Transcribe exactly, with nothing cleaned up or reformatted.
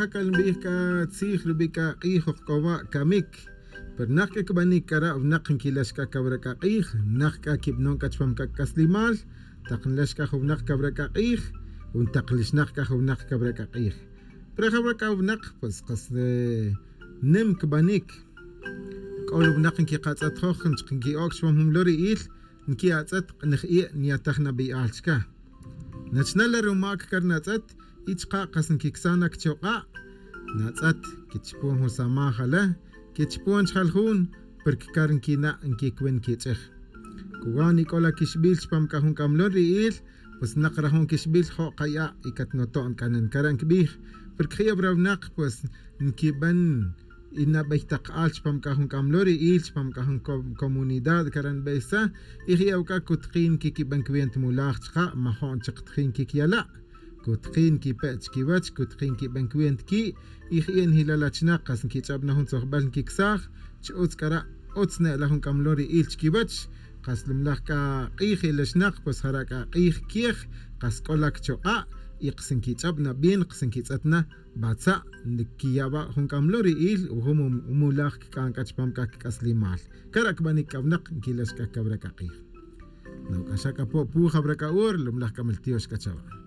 C'a nbij c'a tzij rubi' c'a k'ij oj c'o wa' camic. Pero nak c'a cbanic c'ara' winak nquilax c'a cawra c'a k'ij, nak c'a quibanon c'a chupam c'a c'aslimal. Tak nlax c'a jun winak cawra c'a k'ij, o ntak lixnak c'a jun winak cawra c'a k'ij. Pero jawra c'a winak pues kas nim cbanic. C'o winak nquiqatz'et joj nchik nqui'oc chupam jun mlori'il, nqui'atz'et k'nej ie' nyataj nabey'al chca. Nachna la rumac car natz'et, y chka' kas nquicsaj na cchok'a'. Natz'et quichupon jun samaj ale, quichupon chjal jun, porque car nquina' nquicuin quich'ej. Cuwan ic'o la quixbil chupam c'a jun c'amlon ri'il, pues nak rajun quixbil jo' kaya' y catnoto'n c'a nen cara' nquibij. Porque je' awra winak pues nquiben y nabey tak al chupam c'a jun c'amlori'il chupam c'a jun comunidad cara' nbey sa. Y je' awc'a cutkin quiquiben cuenta mulaj chka' majo'n chik tjin quicyala'. Cutkin quipe' chiquiwech cutkin quiben cuenta qui'. Y je' nijilal achinak kas nquich'ab na jun tzojbel nquicsaj chi utz c'ara'. Utz ne'la jun c'amlori'il chiquiwech. Kas lumlaj c'a k'ij elexinak pues jara' c'a k'ij quiej. Kas c'o la cchok'a', y kas nquich'ab na bien kas nquitz'et na batza' nquiya' wa' jun c'amlori'il o jun mulaj cic'an c'a chupam c'a cic'aslimal. Cara' cbanic c'a winak nquilax c'a cawra c'a k'ij. Noc'axa c'a po' pu jawra c'a hora lumlaj c'a miltiox c'a chawa'.